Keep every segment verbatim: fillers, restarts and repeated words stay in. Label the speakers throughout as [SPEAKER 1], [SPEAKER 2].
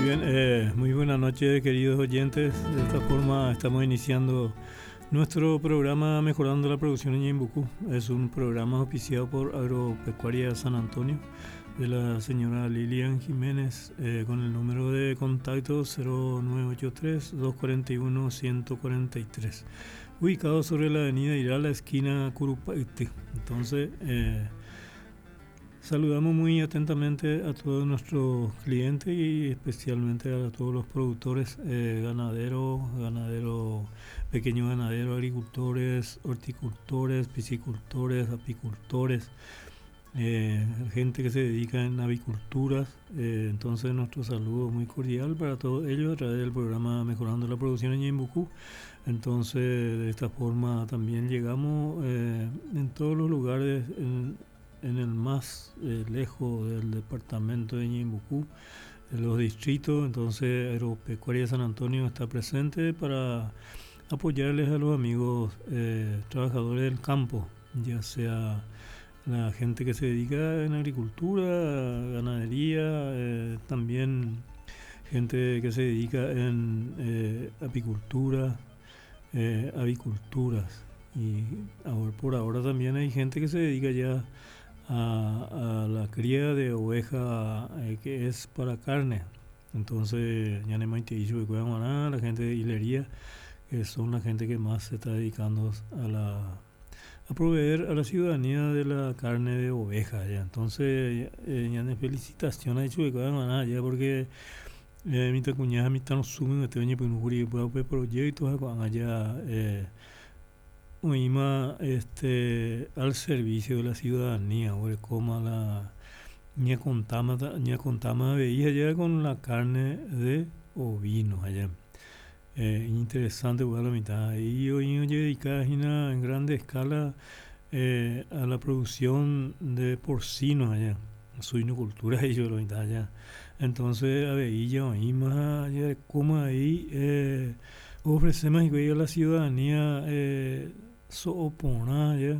[SPEAKER 1] Muy bien, eh, muy buena noche, queridos oyentes. De esta forma estamos iniciando nuestro programa Mejorando la Producción en Ñeembucú. Es un programa auspiciado por Agropecuaria San Antonio de la señora Lilian Jiménez eh, con el número de contacto cero nueve ocho tres, dos cuarenta y uno, ciento cuarenta y tres, ubicado sobre la avenida Irala, esquina Curupayty. Entonces, eh, saludamos muy atentamente a todos nuestros clientes y especialmente a todos los productores, eh, ganaderos, ganaderos, pequeños ganaderos, agricultores, horticultores, piscicultores, apicultores, eh, gente que se dedica en aviculturas. Eh, entonces nuestro saludo muy cordial para todos ellos a través del programa Mejorando la Producción en Ñeembucú. Entonces de esta forma también llegamos, eh, en todos los lugares, en, en el más, eh, lejos del departamento de Ñeembucú, en los distritos. Entonces Agropecuaria San Antonio está presente para apoyarles a los amigos, eh, trabajadores del campo, ya sea la gente que se dedica en agricultura, ganadería, eh, también gente que se dedica en, eh, apicultura, eh, aviculturas. Y ahora, por ahora también hay gente que se dedica ya a, a la cría de oveja, eh, que es para carne. Entonces, ya no hay dicho que cuidan nada, la gente de hilería, que son la gente que más se está dedicando a la, a proveer a la ciudadanía de la carne de oveja. Ya. Entonces, eh, ya no felicitación ha dicho que cuidan nada, ya, porque, eh, mi cuñada, mi tan sumen, este año, pues, no juri, pues, pues, proyectos, allá, eh, oima, este, al servicio de la ciudadanía, o como la ña contama, ña contama veía ya con la carne de ovino allá. Eh, interesante, bueno, la mitad. Y hoy en día dedicada en grande escala, eh, a la producción de porcinos allá, suinocultura y yo la mitad allá. Entonces, a veía, oima, ya como ahí, eh, ofrecemos a la ciudadanía, eh, soopona ya,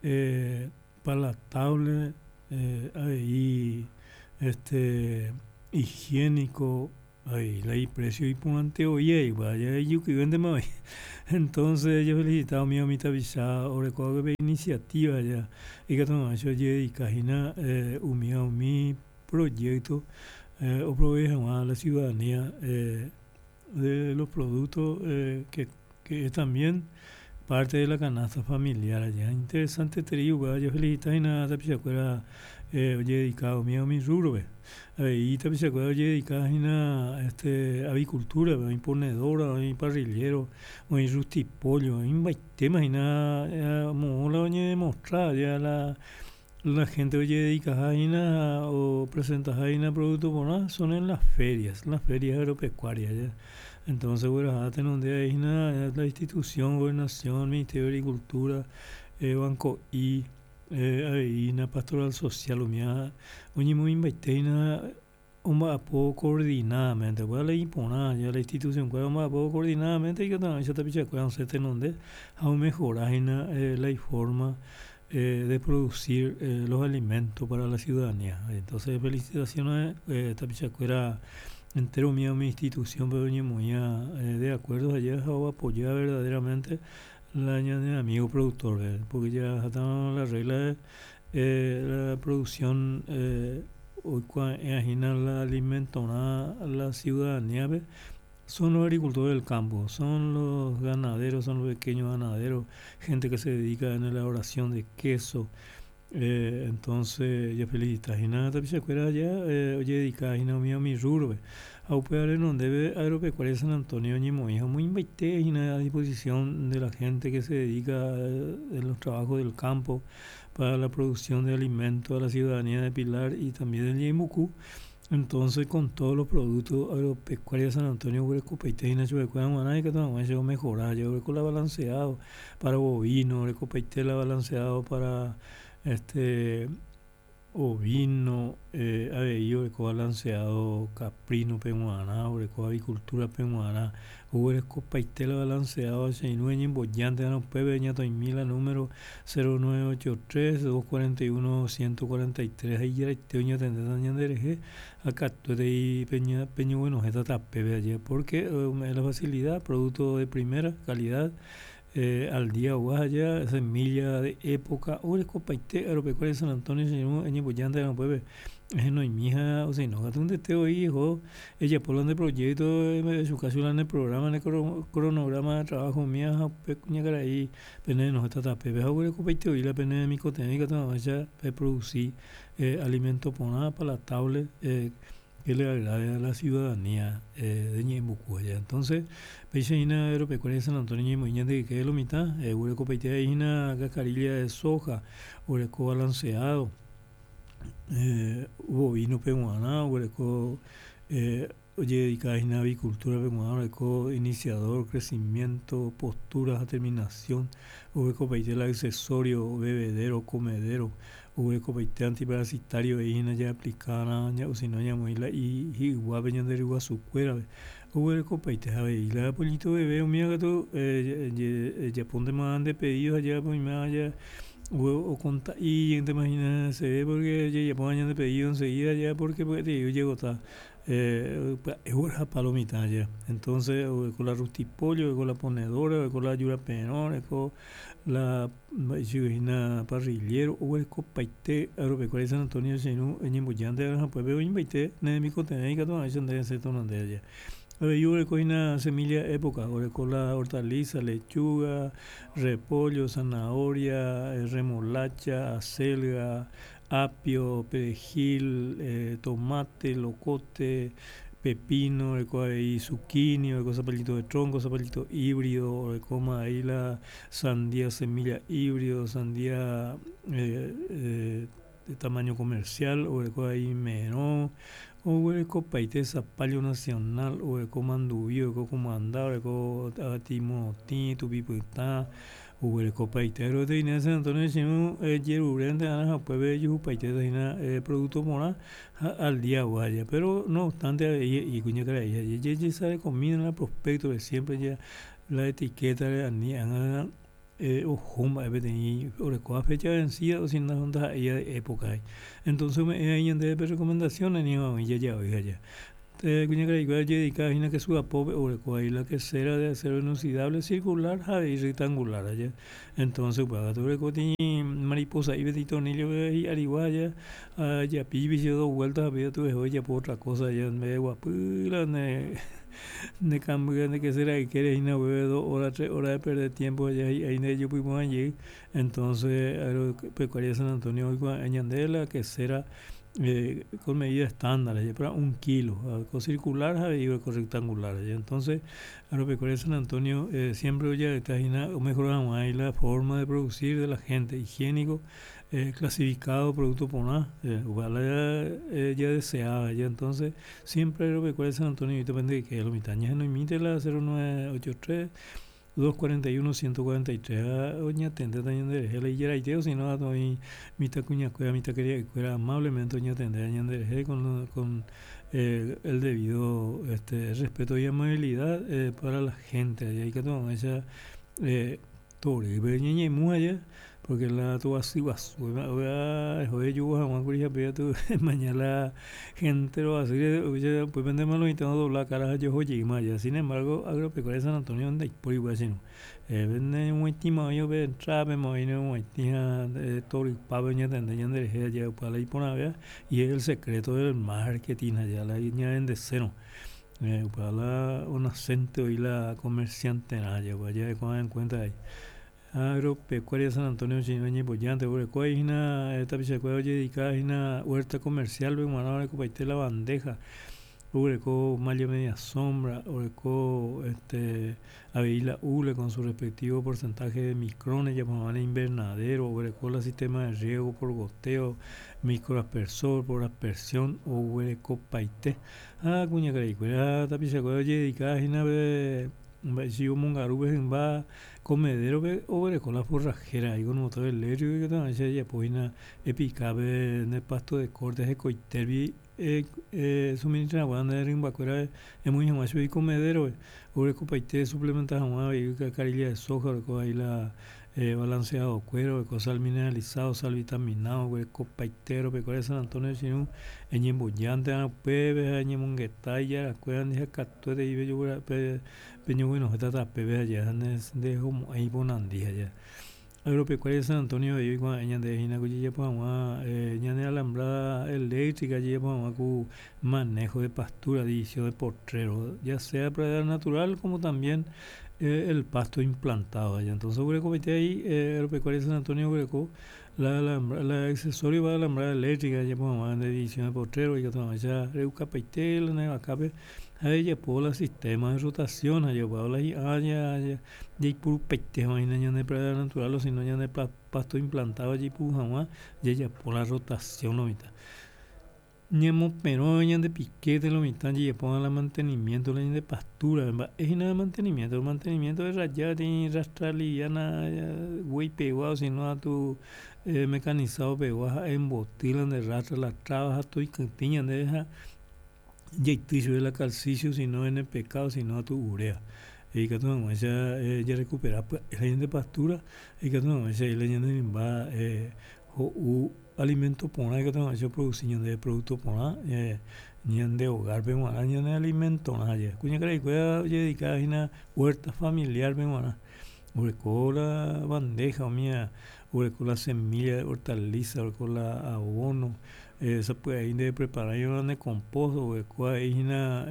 [SPEAKER 1] eh, palatable, eh, ahí, este, higiénico, ahí, la y precio y punante oye, y vaya, y yo que vende más. Entonces, yo felicitado a mi amita Visa, o recuerdo que iniciativa ya, y que toma eso, yo y cajina, eh, umi, umi proyecto, eh, o provee a la ciudadanía, eh, de los productos, eh, que, que es también parte de la canasta familiar allá. Interesante te digo, yo felicito a nada, te pichacuera, eh, oye, dedicado mío a mi rubro, ve. Ahí te pichacuera, oye, dedicado a este, avicultura, ve, imponedora, hay parrillero, hay rustipollo, hay un tema y nada, eh, mola, oye, demostrar ya la, la gente oye dedica a nada o presenta a producto por nada, son en las ferias, las ferias agropecuarias ya. Entonces, bueno, hasta en donde hay una, la institución, gobernación, Ministerio de Agricultura, eh, Banco I, eh, hay una pastoral social, o mía, oye, muy invertida, un poco coordinadamente, bueno, la impona, ya la institución, bueno, un poco coordinadamente, y que también se te picha, bueno, se te donde, aún mejorar, eh, la forma, eh, de producir, eh, los alimentos para la ciudadanía. Entonces, felicitaciones, eh, Tapichacuera, entero mío, mi institución, pero ni muy, eh, de acuerdo, allá o apoyar verdaderamente la de amigo productor, ¿verdad? Porque ya está la regla de, eh, la producción, eh, hoy cua-, imagina la alimentona a la ciudadanía, ¿ve? Son los agricultores del campo, son los ganaderos, son los pequeños ganaderos, gente que se dedica en la elaboración de queso. Eh, entonces, ya felicita, y nada, también se acuerda ya, eh, oye, dedica, y no, mío, mi rubro, ve. A upear en donde ve Agropecuaria San Antonio, ni mo, hija, muy invité, y nada, a disposición de la gente que se dedica, eh, en los trabajos del campo para la producción de alimentos a la ciudadanía de Pilar y también del Ñeembucú. Entonces, con todos los productos Agropecuaria San Antonio, Huecopeite, y Nacho de Cueva, Guaná, y que también se va a mejorar, yo creo que la balanceado para bovino, Huecopeite la balanceado para este Ovino, eh, avei oreko balanceado caprino peg̃uarã, oreko avicultura peg̃uarã, oguerekopaite la balanceado che irũ eñembojántena upépe ñatoĩmi la número cero nueve ocho tres, dos cuarenta y uno, ciento cuarenta y tres ha ijaraite oñatendéta ñanderehe ha katuetei peña peñoguenohẽta tapépe aje porque ome'ẽ la facilidad producto de primera calidad eh, al día ogua semilla de época oguerekopaite Agropecuaria San Antonio che irũ eñembojántena upépe ehenoimi ha osino katu ndete voi eho ejapo la nde proyecto echuka la ne programa ne cronograma de trabajo umíva ha upe kuñakarai penerenohẽta tapépe ha oguerekopaite voi la pene remikotevẽ ikatu hag̃uáicha peproduci eh, alimento porã palatable eh, que le agrade a la ciudadanía eh, de Ñe'ẽmbuku allá. Entonces, péicha hína Agropecuaria San Antonio ñemoĩ ñande yke lo mitã, oguerekopaite hína cascarilla de soja, oreko balanceado, eh, bovino peg̃uarã, oguereko eh, ojededicada hína avicultura peg̃uarã, oreko iniciador, crecimiento, postura ha terminación, oguerekopaite la accesorio, bebedero, comedero, oguerekopaite antiparasitario hína jaaplicarã osino ñamoĩ la hi'yguápe ñande ryguasukuérape oguerekopaite avei la pollito bebé umíva katu ejapóntema nde pedido ha oimérõ ja okonta'i imagina seve porque jajapóma ñande pedido enseguida ya porque pya'eterei ojegota eh, pya'e oguerahapa lo mitã ya entonces oreko la rustipollo, oreko la ponedora, oreko la juraperõ, oreko la mba'eichagua hína parrillero oguerekopaite Agropecuaria San Antonio che irũ eñembojántena ha upépe oĩmbaite ne remikotevẽ ikatu hag̃uáicha nde resẽ tenonde aja. Avei oreko hína semilla época, oreko la hortaliza, lechuga, repollo, zanahoria, remolacha, acelga, apio, perejil, eh, tomate, locote, pepino, oreko avei zucchini, oreko zapallito de tronco, zapallito híbrido, orekóma avei la sandía semilla híbrido, sandía eh, eh, de tamaño comercial, oreko avei merõ, oguerekopaite zapallo nacional, oreko manduvi, oreko kumanda, oreko avati morotĩ, tupi pytã, oguerekopaite Agroveterinaria San Antonio che irũ ejerurénte ha upépe ejuhupaitéta hína producto porã ha al día aja pero no obstante avei he'i kuñakarai jajesarekomína la prospecto siempre ya la etiqueta ani ág̃a eh, oho mba'e peteĩ orekóva fecha vencida o si no ndaha'éi de época entonces ome'ẽ aí ñandéve recomendaciones ni jajavy aja kuñakaraikuéra ojededicada hína kesu apópe oreko aí la quesera de acero inoxidable circular ha avei rectangular aja entonces upéva katu oreko peteĩ mariposa'i peteĩ tornillo hi'arigua aja japi dos vueltas ha péva eho ejapo otra cosa allá ndeguapy la ne nekamby nde quesera ykére hína upépe dos horas tres horas de perder tiempo allá hi'ái ndejopy jey entonces Agropecuaria San Antonio oikuaa'e ñande la quesera eh, con medida estándar, para un kilo, con circular y con rectangular. Entonces, Agropecuaria San Antonio eh, siempre oye hína o mejoramos ahí la forma de producir de la gente, higiénico, eh, clasificado, producto porã, eh, ya, eh, ya deseaba, ya entonces, siempre Agropecuaria San Antonio, y depende de que lo mitad, no imite la cero nueve ocho tres, dos cuarenta y uno, ciento cuarenta y tres, oñatendéta ñanderehe la ijaraite o si no oĩ mitãkuñakuéra mitãkaria'ykuéra amablemente oñatende ñanderehe con, con eh, el debido este, respeto y amabilidad eh, para la gente allá ikatu hag̃uáicha eh, torýpe ñañemu allá porque la toasy guasu eho hag̃ua kuri ha tu mañana la gente roasýre upépe lo mitã odobla cara ha jeho jeýma allá sin embargo Agropecuaria San Antonio ndaipóri upéva che irũ neñog̃uaitĩma oĩ upe entrada-pema oĩ neñog̃uaitĩ ha torypápe oñatende ñanderehe allá upéva la iporãvéva y es el secreto del marketing allá la ñavendesérõ upéva la onacente oĩ la comerciante-rã upéva jarekóva en cuenta ahí Agropecuaria San Antonio che irũ eñembojántena oreko hína tapichakuéra ojededicada hína huerta comercial g̃uarã orekopaite la bandeja oguereko malla media sombra oreko este avei la hule con su respectivo porcentaje de micrones japo invernadero oguereko la sistema de riego por goteo microaspersor por aspersión oguerekopaite ha kuñakaraikuéra tapichakuéra ojededicada hína pe Mba'éicha omongaru hymba comedero-pe oguereko la forrajera ahí con motor eléctrico ikatu jajapo epikápe nde pasto de corte hekoitérupi suministra hag̃ua nde rymbakuéra emoĩ hag̃ua chugui comedero-pe oguerekopaite suplementa hag̃ua avei carilla de soja oreko ahí la balanceado-kuéra oreko sal mineralizado, sal vitaminado oguerekopaite agropecuaria San Antonio che irũ eñembojántema upépe ha eñemongeta ijarakuéra ha katuete peñoguenohẽta tapépe aja ndehomo'ãi iponandi aja. Agropecuaria San Antonio avei oikuaa'ẽ ñande hína ku jajapo hag̃ua ñane alambrada eléctrica jajapo hag̃ua ku manejo de pastura, división de potrero, ya sea pradera natural como también el pasto implantado allá. Entonces oguerekopaite ahí Agropecuaria San Antonio oguereko la la accesorio para alambrada eléctrica jajapo hag̃ua división de potrero ikatu hag̃uáicha re'ukapaite la ne vakápe ha ejapo la sistema de rotación ha jaguáva la hi'a jaipurupaite hag̃ua ñande pradera natural o sino ñande pasto implantado jaipuru hag̃ua jajapo la rotación lo mitã. Ñamoperõ ñande piquete lo mitã jajapo la mantenimiento la ñande pastura mba'e hína mantenimiento, mantenimiento erraja peteĩ rastra liviana guéi pegua o sino atu mecanizado pegua ha emboty la nde rastra la traba ha toikytĩ ñandéve ha jaity chupe la calcicio sino N P K o sino atu urea ikatu hag̃uáicha jarecupera pya'e la ñande pastura ikatu hag̃uáicha la ñane rymba ho'u alimento porã ikatu hag̃uáicha oproduci ñandéve producto porã ñande hogar-pe g̃uarã ñane alimentorã kuñakaraikuéra ojededica hína huerta familiar-pe g̃uarã oreko la bandeja umíva oreko la semilla de hortaliza oreko la abono sapy'ai preparaiva ne compost oreko avei hína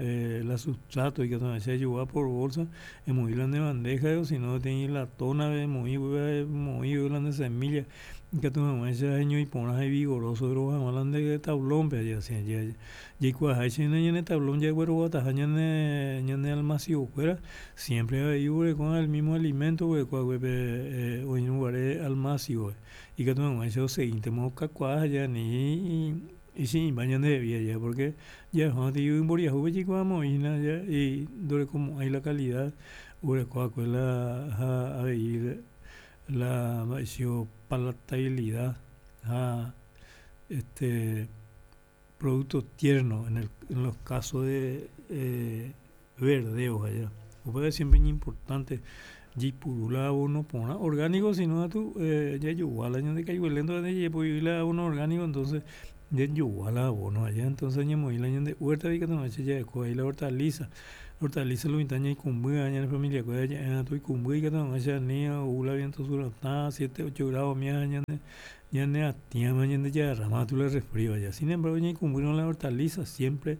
[SPEAKER 1] la sustrato ikatu hag̃uáicha ejogua por bolsa emoĩ la ne bandeja o sino peteĩ latona emoĩ emoĩ la ne semilla ikatu hag̃uáicha heñói porã ha vigoroso ro'o hag̃ua la nde tablón-pe jaikuaaháicha hína ñane tablón jagueroguataha ñane ñane almacigokuéra siempre avei oguereko el mismo alimento oguerekoaguépe oĩrõguare almacigo ikatu hag̃uáicha oseguíntema okakuaa ani ichi'ĩmba ñandehegui aja porque jahóva mboriahúpe jaikuaamo'ãi hína ndorekomo'ãi la calidad oguerekoakue la ha avei la mba'éicha palatabilidad ha este producto tierno en el en los casos de eh, verdeo allá upéva siempre importante jaipuru la abono porã orgánico sino atu jajogua la ñande kaigue jajepo'i la abono orgánico entonces jajogua la abono allá entonces ñamoĩ la ñande huerta ikatu hag̃uáicha jareko ahí la hortaliza hortaliza lo mitã ñaikũmby ñane familia-kuéra ja'e toikũmby ikatu hag̃uáicha ani ou la viento sur atã siete ocho grado ñane ñaneatĩama ñandejagarráma la resfrío allá sin embargo ñaikũmbýrõ la hortaliza siempre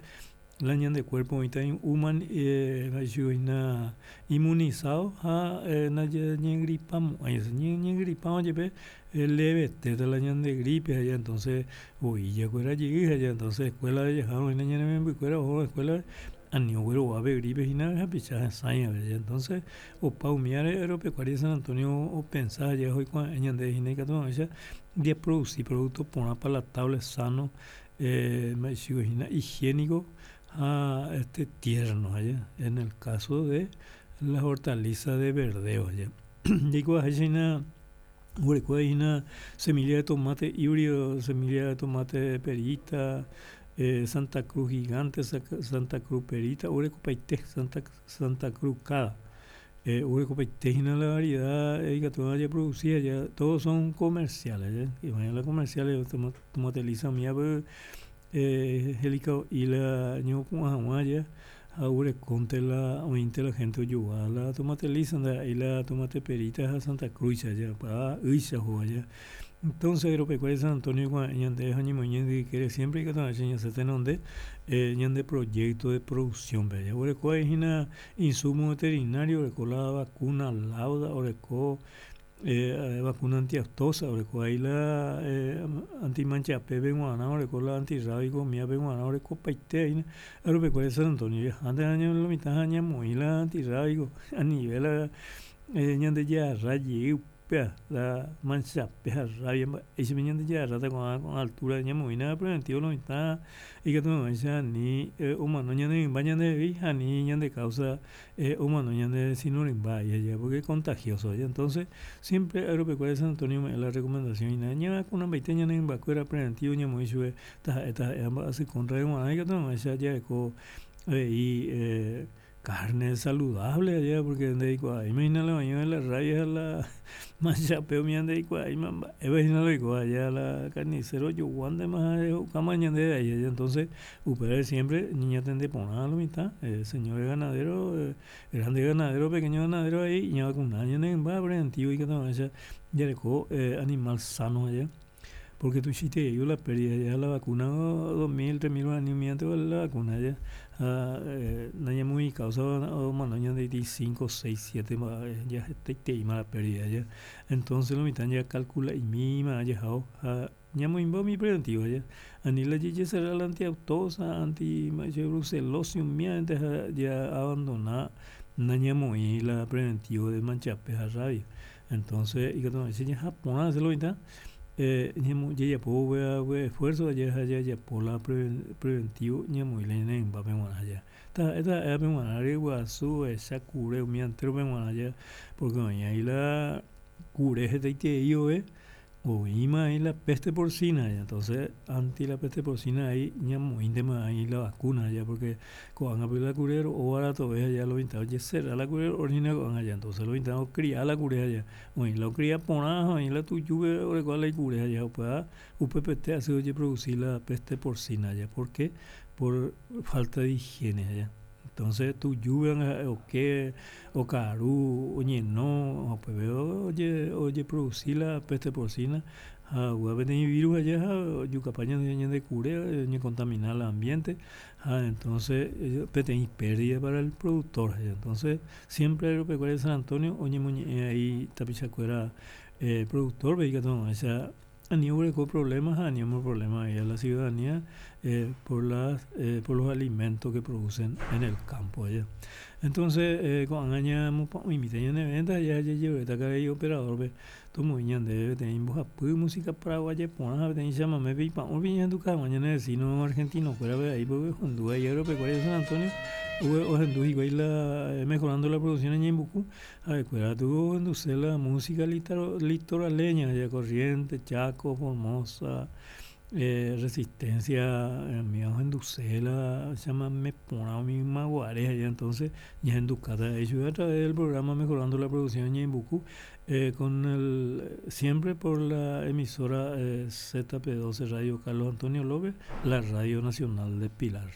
[SPEAKER 1] la ñande cuerpo oĩta hína inmunizado ha nañañegripamo'ãi ñañegripárõ jepe levetéta la ñande gripe allá entonces voi jakuera jey allá entonces escuela jahárõ hína ñane membykuéra ohórõ escuela ani ogueroguápe gripe hína hapicha hesãi avei entonces opa umíare agropecuaria San Antonio opensa oikuaa'ẽ ñande hína ikatu hag̃uáicha japroduci producto porã palatable sano mba'éicha hína higiénico ha este tierno allá en el caso de las hortalizas de verdeo allá jaikuaaháicha hína oguereko hína semilla de tomate híbrido semilla de tomate perita eh, Santa Cruz gigante Santa Cruz perita oguerekopaite Santa, Santa Cruz cada eh, oguerekopaite hína la variedad ikatu japroduci allá todos son comerciales ¿ya? Y la comerciales tomate lisa umíva eh, y la ñopu'ã hag̃ua allá ha oguerekónte la oĩnte la gente ojogua la tomate lisa ndaha'éi la tomate perita ha Santa Cruz allá pa ýicha oho allá entonces agropecuaria San Antonio ñande ha ñemoĩ ñande siempre ikatu hag̃uáicha ñasẽ tenonde eh, ñande proyecto de producción-pe allá oguereko hína insumo veterinario oreko la vacuna lauda oreko eh, vacuna antiaftosa oreko ahí la eh, antimanchape g̃uarã oreko la antirrábico umívape g̃uarã orekopaite hína agropecuaria San Antonio antes año lo mitã ñamoĩ la antirrábico a nivel la eh, ñandejarra jey La mancha rabia ese ñande rata con con altura ñamoĩna preventivo lo mitã ikatu hag̃uáicha ani omano ñane rymba ñandehegui ani ñande causa omano ñande vecino rymba porque es contagioso entonces siempre Agropecuaria San Antonio ome'ẽ la recomendación hína ñavakunambaite ñane rymbakuéra preventivo ñamoĩ chupe taha'e taha'e mba'asy contra g̃uarã ikatu hag̃uáicha jareko avei carne saludable allá porque ndeikuaáima la oĩva la rabia la manchape umi ndeikuaáima mba'épa hína la oikóva allá la carnicero ojoguántema ho'ukáma ñandéve ahí entonces upévare siempre ñañatende porã lo mitã señores ganadero grande ganadero pequeño ganadero ahí ñavacuna ñane rymba preventivo ikatu hag̃uáicha jareko animal sano allá porque tuichaiterei la pérdida ya la vacuna dos mil tres mil guarani umívante vale la vacuna ya ha nañamoĩ causa omano ñandeity cinco seis siete mba'e ya hetaiteíma la pérdida ya entonces lo mitã jacalcula'imíma jaháo ha ñamoĩmba umi preventivo ya ani la jajecerra la antiaftosa anti brucelosis umívante ha ya abandona nañamoĩ la preventivo de manchape ha rabia entonces ikatu hag̃uáicha jaha porã lo mitã jajapo esfuerzo ha jajapo la preventivo ñamoĩ la ñane rymbápe g̃uarã ja taha'e taha'e g̃uarã ryguasu ovecha kure umi enterope g̃uarã ja porque oĩ ahí la kure hetaiterei ove oĩma ahí la peste porcina entonces anti la peste porcina ahí ñamoĩntema ahí la vacuna ya porque ko'ág̃a la kure ro'o baratove allá lo mitã ojecerra la kure ro'o hína ko'ág̃a ya entonces lo mitã ocria la kure allá oĩ la ocria porã ha oĩ la tujúpe orekóva la ikure allá upéva upepete asy ojeproduci la peste porcina allá ¿por qué? Por falta de higiene allá entonces tujúpe oke okaru oñeno upépe oje ojeproduci la peste porcina ha upéva peteĩ virus allá ha ojukapa ñande kure oñecontamina el ambiente ha entonces peteĩ pérdida para el productor entonces siempre Agropecuaria San Antonio oñemoñe'ẽ ahí tapichakuéra productor-pe ikatu hag̃uáicha ani oguereko problemas ha ani problema ahí a la ciudadanía eh, por las eh, por los alimentos que producen en el campo allá entonces eh, ko'ág̃a ñamopa'ũimíta ñane venta ya jajeruréta karai operador-pe tomoĩ ñandéve peteĩ mbohapy música paraguaya porã ha peteĩ chamamépe ipa'ũrupi ñahenduka hag̃ua ñane vecino argentino-kuérape ahí porque ohendu ahí Agropecuaria San Antonio ohendu hikuái la mejorando la producción en Ñeembucú ha'ekuéra tuvo ohenduse la música litoraleña allá Corrientes, Chaco, Formosa eh, Resistencia umi ohenduse la chamame porã umi ymaguare allá entonces ñahendukáta chupe a través del programa Mejorando la Producción en Ñeembucú eh, con el siempre por la emisora eh, Z P doce Radio Carlos Antonio López, la Radio Nacional de Pilar.